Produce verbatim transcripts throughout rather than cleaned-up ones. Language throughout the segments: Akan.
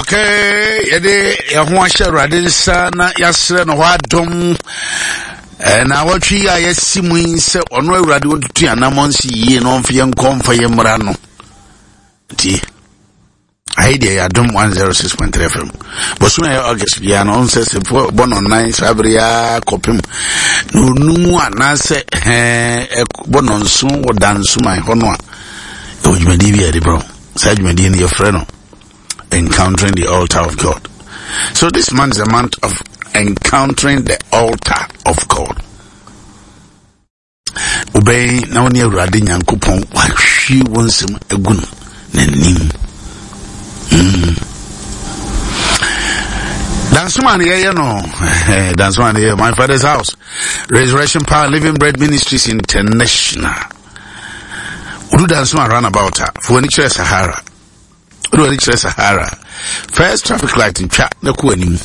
Okay, yɛde yɛn ho ahyɛ Awurade nsa na yɛasrɛ no hɔ adom. Na wɔtwe yi a yɛasi mu yi sɛ ɔno Awurade ɔntutu yɛn anammɔn si yie na ɔmfa yɛn nkɔ mfa yɛn mmra no. Nti, ayi deɛ yɛ Adom one oh six point three F M. Bosome a ɛyɛ August biara no, ɔn sɛ sɛ bɔ no nan saa bere yi kɔpem na onum anaasɛ ɛɛ bɔ no nson wɔ Dansoman hɔ no a, ɛwɔ dwumadie bi a yɛde brɛ. Saa dwumadie no, yɛfrɛ no Encountering the Altar of God. So this month is a month of encountering the altar of God. Wobɛn na wo ne Awurade Nyankopɔn wahwie wo nsɛm agu no n'anim. mm. Dansoma ne yɛyɛ no, Dansoma ne yɛyɛ, my Father's house, Resurrection Power Living Bread Ministries International. Wodu Dansoma roundabout a, fo w'ani kyerɛ Sahara. Wode w'ani kyerɛ Sahara, first traffic light ntwa na kɔ anim.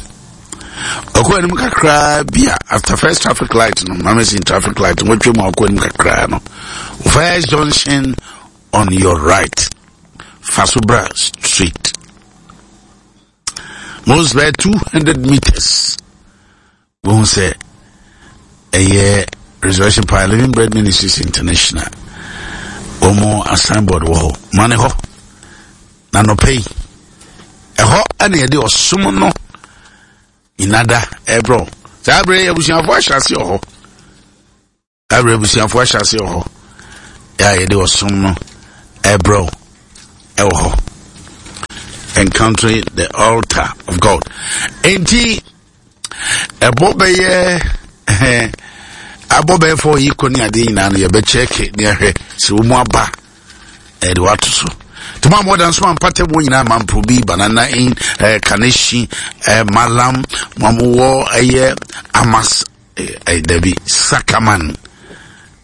Ɔkɔ anim kakraa bi a, after first traffic light no, mama sin traffic light wɔtwa mu a, ɔkɔ anim kakraa no, first junction on your right, Fasobra Street, most by two hundred meters, wɔn sɛ ɛyɛ Resurrection Power Living Bread Ministries International. Wɔn signboard wɔ hɔ mane hɔ. Na nɔpɛ yi, ɛhɔ ɛna yɛde ɔsom no nyinada ɛbrɔ. Saa abere yi, abusuafoɔ ahyɛ ase wɔ hɔ. Abere abusuafoɔ ahyɛ ase wɔ hɔ yɛ a yɛde ɔsom no ɛbrɔ ɛwɔ hɔ, Encountering the Altar of God. Enti ɛbɔ bɛyɛ ɛhɛn abɔ bɛyɛ fɔ yi kɔ ne adeɛ nyinaa no, yɛbɛkyɛke ne ahwɛ sɛ wɔn mu aba ɛde wato so. Tuma mo dan so ampata mu nyinaa, Mamprobi, Banana Inn, ɛɛ Kaneshie, ɛɛ Malam, mo a mowɔ ɛyɛ Amas, ɛɛ dabi, Sakaman,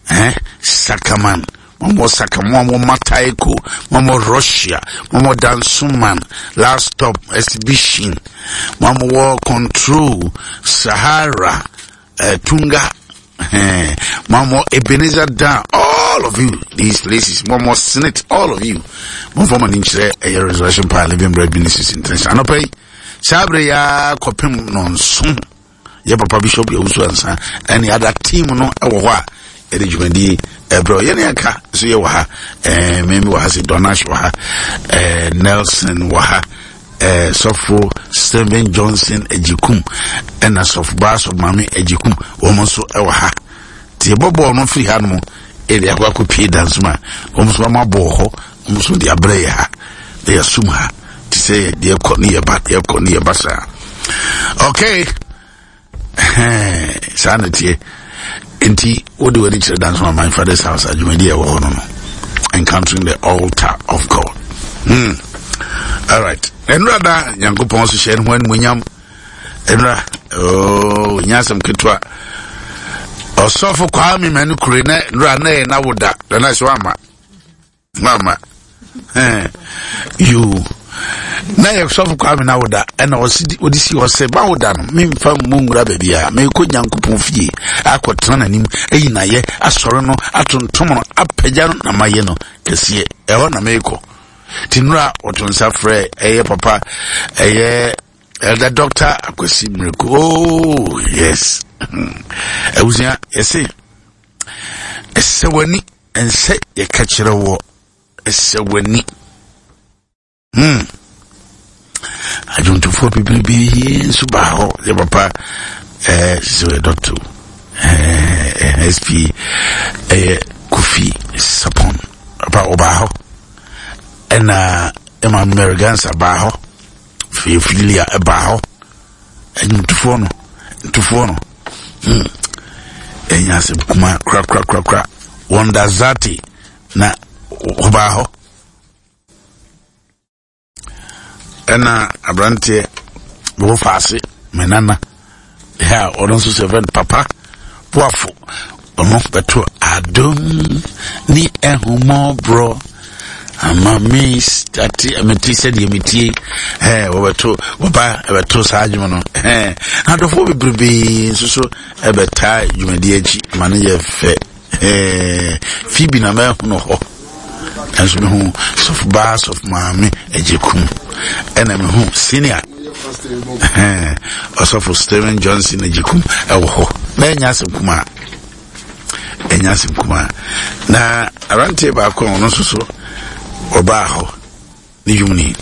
ɛɛ Sakaman, mo mo Saka, mo a mo Mataiko, mo mo Russia, mo mo Dansoman Last Stop, Exhibition, mo a mo wɔ Control, Sahara, ɛɛ Tunga, ɛɛ mo a mo Ebenezer Down, all of you, these places, mo mo Senate, all of you, mo fɔ mo ani nkyerɛ ɛyɛ Resurrection Power Living Bread Ministries International. Anɔpɛ yi, saa abere yi ara kɔpem nɔnson, yɛ papa Bishop Yawusu Ansa ɛne ada team no ɛwɔ hɔ a yɛde dwumadie ɛbrɛ. Yɛne ɛka so yɛ wɔ ha, ɛɛ mɛmi wɔ ha, sɛ Donash wɔ ha, ɛɛ Nelson wɔ ha, ɛɛ Sɔfo Stephen Johnson Ejikum ɛna Sɔfo Baasɔ Maame Ejikum, wɔn nso ɛwɔ ha. Tie, bɔ bɔɔl no firi ha nom ɛde akɔ akɔ pie Dansoma, wɔn nso wɔn abɔ wɔ hɔ, wɔn nso de abrɛ yɛ ha na yɛsum ha te sɛ deɛ kɔ ne yɛ ba, deɛ kɔ ne yɛ ba saa. Okay, saa na tie. Nti wode w'ani kyerɛ Dansoma, my Father's house, adwumadi a ɛwɔ hɔ no no Encountering the Altar of God. hmm. All right, ɛnura da Nyankopɔn so hyɛ ne ho animonyam. Ɛnura, oh, nyɛ asɛm ketewa. Ɔsɔfo Kwame Manu Kure na nura na yɛ na woda dana sɛ wama mama yo na yɛ Sɔfo Kwame na woda, ɛna ɔde si hɔ sɛ bawoda no, memfa mmu nwura baabi a merekɔ Nyankopɔn fie akɔtena n'anim ayi nayɛ, asɔre no, atontom no, apagya no na mayɛ no kɛseɛ. Ɛhɔ na merekɔ. Nti nnura ɔto nsa frɛ ɛyɛ papa, ɛyɛ Elder Doctor Akwasi Miracle. Oh yes, abusua, yɛse ɛsɛ w'ani ɛnsɛ yɛka kyerɛ wɔ, ɛsɛ w'ani. hmm adwontofoɔ bebrebe nso baa hɔ. Yɛ papa ɛɛ sɛ ɔyɛ doctor ɛɛ S P ɛyɛ Kofi Sapon papa, ɔbaa hɔ, ɛna ɛma Mary Gansa baa hɔ, Fifilia ɛbaa hɔ. Ɛnwomtofoɔ no, ntofoɔ no, hmm ɛnya asɛm kuma korakorakorakora. Wɔnda Zate na ɔbaa hɔ, ɛna aberanteɛ bɛwɔ faase menana ɛ a ɔno nso sɛ fɛn papa boafo, ɔno bɛto adom ne ɛhomɔborɔ ama me ate mete sɛdeɛ metie. Ɛ wɔbɛto, wɔba ɛbɛto saa adwuma no. Ɛ adɔfoɔ bebrebee nso so ɛbɛtaa dwumadie akyi ma no yɛ fɛ. Ɛɛ Phoebe na mɛhono hɔ. Nanso mehu sɔfo baa, sɔfo maame Agyekum, ɛna mehu senior ɔsɔfo Stephen Johnson Agyekum ɛwɔ hɔ. Na ɛnyɛ asɛm kumaa, ɛnyɛ asɛm kumaa. Na aberanteɛ baako a ɔno nso so ɔbaa hɔ ne dwom ni.